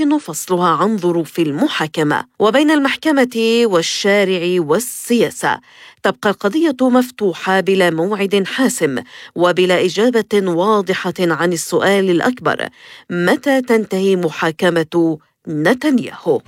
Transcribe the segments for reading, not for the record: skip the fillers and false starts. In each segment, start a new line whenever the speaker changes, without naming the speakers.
يمكن فصلها عن ظروف المحاكمة. وبين المحكمة والشارع والسياسة تبقى القضية مفتوحة بلا موعد حاسم وبلا إجابة واضحة عن السؤال الأكبر: متى تنتهي محاكمة نتنياهو؟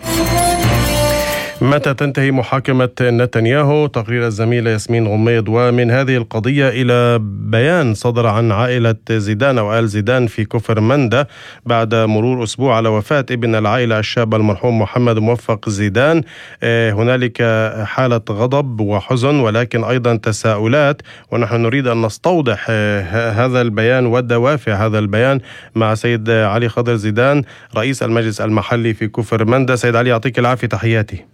متى تنتهي محاكمة نتنياهو؟ تقرير الزميلة ياسمين غميض. ومن هذه القضية إلى بيان صدر عن عائلة زيدان أو آل زيدان في كفر مندة بعد مرور أسبوع على وفاة ابن العائلة الشاب المرحوم محمد موفق زيدان. هنالك حالة غضب وحزن ولكن أيضا تساؤلات، ونحن نريد أن نستوضح هذا البيان ودوافع هذا البيان مع سيد علي خضر زيدان رئيس المجلس المحلي في كفر مندة. سيد علي، يعطيك العافية، تحياتي.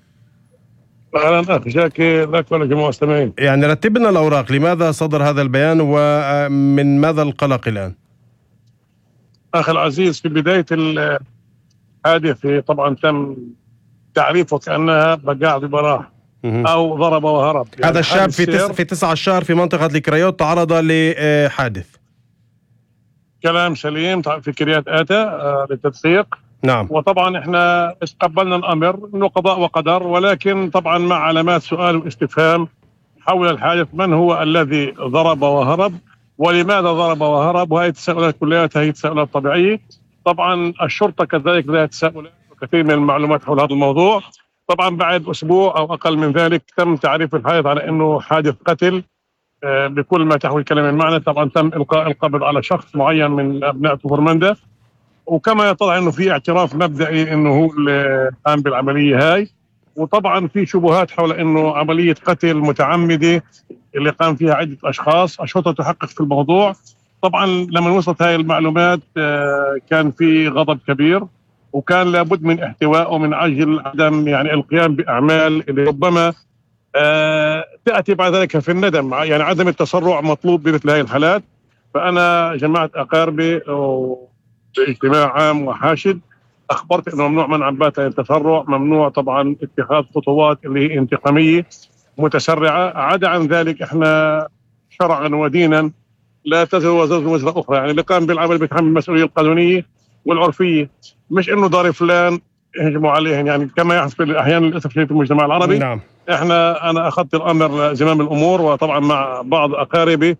أهلا أخي جاكي، لك ولجميع المستمعين.
يعني رتبنا الأوراق، لماذا صدر هذا البيان ومن ماذا القلق الآن؟
أخي العزيز، في بداية الحادثة طبعا تم تعريفه كأنها بقاع ببراح أو ضرب وهرب.
يعني هذا الشاب في 19 في منطقة الكريوت تعرض لحادث.
كلام سليم، في كريات آتا للتدقيق.
نعم.
وطبعا احنا استقبلنا الامر انه قضاء وقدر، ولكن طبعا مع علامات سؤال واستفهام حول الحادث: من هو الذي ضرب وهرب؟ ولماذا ضرب وهرب؟ وهي التساؤلات كلها هي تساؤلات طبيعيه. طبعا الشرطه كذلك لها تساؤلات وكثير من المعلومات حول هذا الموضوع. طبعا بعد اسبوع او اقل من ذلك تم تعريف الحادث على انه حادث قتل بكل ما تحوي الكلمه المعنى. طبعا تم القاء القبض على شخص معين من ابناء كفر مندة، وكما يطلع انه في اعتراف مبدئي انه هو اللي قام بالعمليه هاي. وطبعا في شبهات حول انه عمليه قتل متعمده اللي قام فيها عده اشخاص. الشرطه تحقق في الموضوع. طبعا لما وصلت هاي المعلومات كان في غضب كبير، وكان لابد من احتوائه من اجل عدم يعني القيام باعمال اللي ربما تاتي بعد ذلك في الندم. يعني عدم التسرع مطلوب بمثل هاي الحالات. فانا جمعت اقاربي باجتماع عام وحاشد، اخبرت انه ممنوع منعا باتا التسرع، ممنوع طبعا اتخاذ خطوات اللي هي انتقاميه متسرعه. عدا عن ذلك احنا شرعا ودينا لا تزر وزر وزر اخرى، يعني اللي قام بالعمل بيتحمل المسؤوليه القانونيه والعرفيه، مش انه دار فلان يهجموا عليهم يعني كما يحدث احيانا للاسف الشديد في المجتمع العربي.
نعم.
انا اخذت الامر زمام الامور، وطبعا مع بعض اقاربي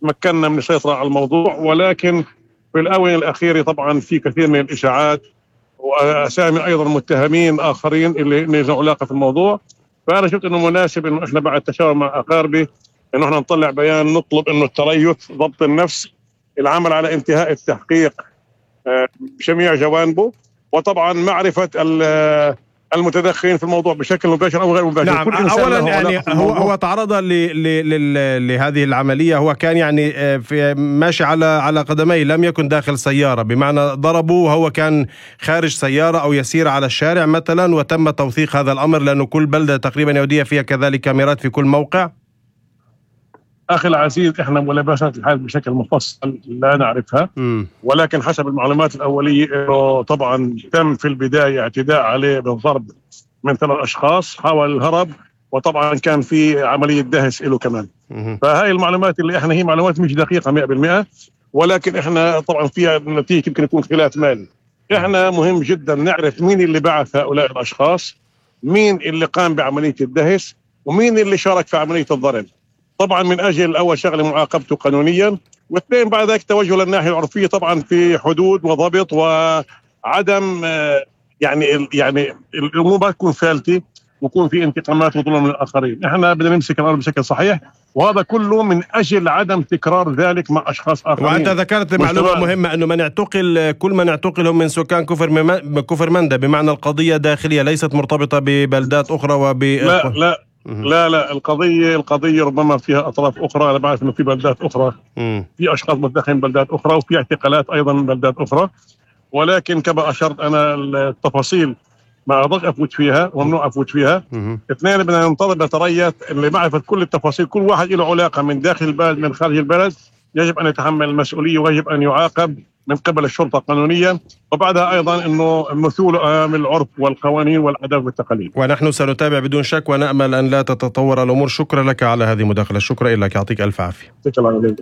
مكننا من السيطره على الموضوع. ولكن في الآونة الأخيرة طبعا في كثير من الإشاعات وأسامي أيضا متهمين آخرين اللي لهم علاقة في الموضوع. فأنا شفت إنه مناسب إنه إحنا بعد تشاور مع أقاربي إنه إحنا نطلع بيان نطلب إنه التريث، ضبط النفس، العمل على انتهاء التحقيق بجميع جوانبه، وطبعا معرفة المتدخلين في الموضوع بشكل مباشر او غير مباشر.
نعم. اولا يعني هو تعرض لهذه العمليه، هو كان يعني في ماشي على قدميه، لم يكن داخل سياره، بمعنى ضربوا وهو كان خارج سياره او يسير على الشارع مثلا، وتم توثيق هذا الامر لانه كل بلده تقريبا يهوديه فيها كذلك كاميرات في كل موقع.
أخي العزيز، إحنا ملابسات الحال بشكل مفصل لا نعرفها، ولكن حسب المعلومات الأولية إنه طبعا تم في البداية اعتداء عليه بالضرب من 3 أشخاص، حاول الهرب، وطبعا كان في عملية دهس له كمان. فهاي المعلومات اللي إحنا هي معلومات مش دقيقة 100%، ولكن إحنا طبعا فيها نتيجة يمكن يكون خلاف مالي. إحنا مهم جدا نعرف مين اللي بعث هؤلاء الأشخاص، مين اللي قام بعملية الدهس، ومين اللي شارك في عملية الضرب. طبعا من اجل اول شغله معاقبته قانونيا، واثنين بعد ذلك توجه للناحيه العرفيه طبعا في حدود وضبط وعدم يعني الامور ما تكون فالته ويكون في انتقامات وظلم للاخرين. احنا بدنا نمسك الامر بشكل صحيح، وهذا كله من اجل عدم تكرار ذلك مع اشخاص اخرين.
وانت ذكرت معلومه مهمه انه من يعتقل كل من يعتقلهم من سكان كفر مندة، بمعنى القضيه داخليه ليست مرتبطه ببلدات اخرى
لا القضية ربما فيها أطراف أخرى. أنا بعرف إنه في بلدات أخرى في أشخاص متدخلين بلدات أخرى، وفي اعتقالات أيضا من بلدات أخرى، ولكن كما أشرت أنا التفاصيل ما أقدرش أفوت فيها وممنوع أفوت فيها. اثنين بدنا ننتظر نتريث اللي معرفة كل التفاصيل، كل واحد له علاقة من داخل البلد من خارج البلد يجب أن يتحمل المسؤولية ويجب أن يعاقب من قبل الشرطة قانونيا، وبعدها أيضا أنه مثول أمام العرف والقوانين والآداب والتقاليد.
ونحن سنتابع بدون شك ونأمل أن لا تتطور الأمور. شكرا لك على هذه المداخلة. شكرا لك، يعطيك ألف عافية.
شكرا لك.